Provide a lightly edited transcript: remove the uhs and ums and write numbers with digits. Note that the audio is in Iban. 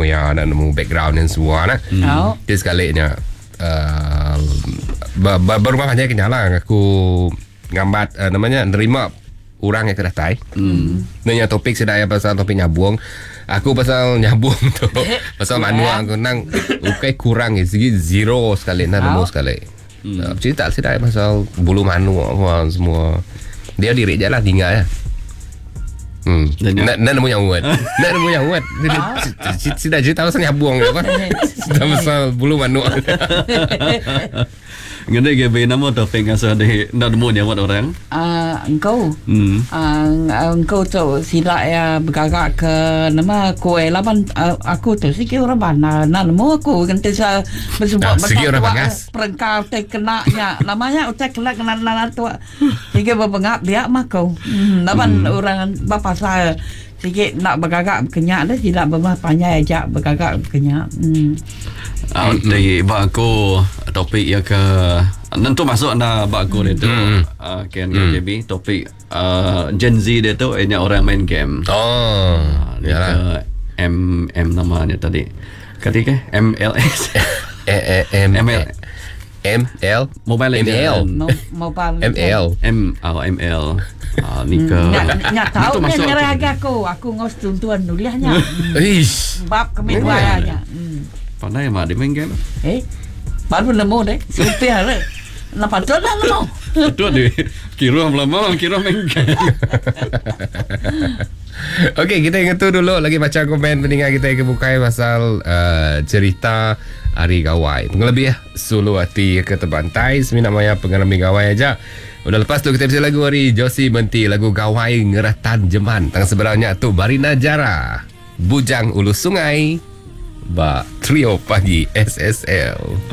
nemu iya, enda nemu background iya semua nah. Au. Ti sekali nya uh, berumah panjai ke nyala aku ngambat uh, nama nya nerima orang yang ke datai. Hmm. Nanya topik sida iya pasal topik nyabung. Aku pasal nyabung tu. Pasal manuk aku nang ukai kurang sigi zero sekali nang nemu sekali. Hmm. Cerita sida iya pasal bulu manuk apa semua. Dia diri je lah tinggal ya. Hmm. Nak nak nemu nyawa. Nak nemu nyawa. Sida cerita pasal nyabung apa. Cerita pasal bulu manuk. Ngene GB nama topik ngasuh di enda nemu nyawat orang. Uh, engkau. Hmm. Uh, engkau tu sila ya bergagak ke nama kuih laban uh, aku tu sigi orang bandar nak nemu aku ganti sa bersebut Ah, sigi orang bangas. Perengka utai kena nya namanya utai kena kena kena tu sigi bebengap dia mah aku. Hmm, laban hmm. orang bapasal sigi nak bergagak berkenyak dah sila bermah panjai aja bergagak berkenyak. Hmm. Uh, di ba aku topik ya ke nentu masuk anda ba aku dia tu mm. uh, Ken mm. KB topik uh, Gen Z dia tu ianya orang main game. Oh, uh, yalah. M M namanya tadi. Kati ke MLS E E M M L M L Mobile M L Mobile M L M oh, M L. Ah, ni ke. Nya tahu nya nyerah agak aku. Aku ngos tuntuan nuliahnya. Ish. Bab kami dua nya. Pandai amat dia main game. Eh. Baru nemu deh. Supiah le. Nah patut lah nemu. Patut dia. Kira lama kira main game. Okey, kita ingat tu dulu lagi baca komen pendengar kita ke bukai pasal uh, cerita Hari Gawai. Pengelebih sulu hati ke terbantai semina maya pengalami gawai aja. Udah lepas tu kita bisa lagu hari Josie Menti lagu Gawai Ngeratan Jeman. Tang sebenarnya tu Barina Jara. Bujang Ulu Sungai ba Trio Pagi SSL.